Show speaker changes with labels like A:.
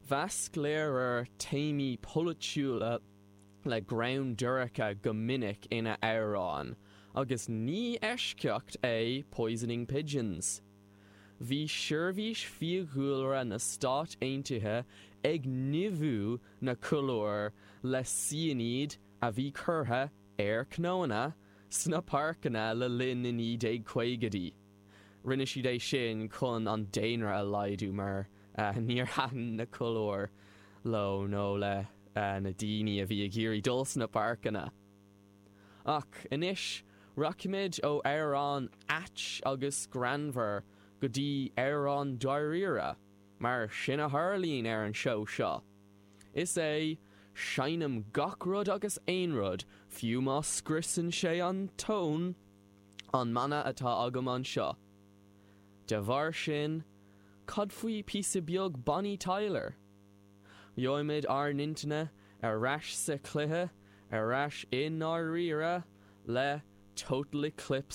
A: Mheasc Lehrer téamaí polaitiúla le greann dorcha go minic ina amhráin, agus ní eisceacht é Poisoning Pigeons. Bhí Seirbhís Fiadhúlra na Stát Aontaithe ag nimhiú na colúir le ciainíd a bhí curtha ar cnónna sna páirceanna le linn na 1950idí. Rinne siad é sin chun an daonra a laghdú mar níor thaitin na colúir leo nó le na daoine a bhí ag iarraidh dul sna páirceanna. Ach anois rachaimid ó amhrán ait agus greannmhar go dtí amhrán dáiríre, mar sin a tharlaíonn ar an seó seo. Is é 'Seinnim gach rud agus aon rud, fiú má scriosann sé an tón' an mana atá agam anseo. De bharr sin, cad faoi píosa beag Bonnie Tyler? Gheobhaimid ár n-intinne ar ais sa chluiche, ar ais i ndáiríre, le Total Eclipse.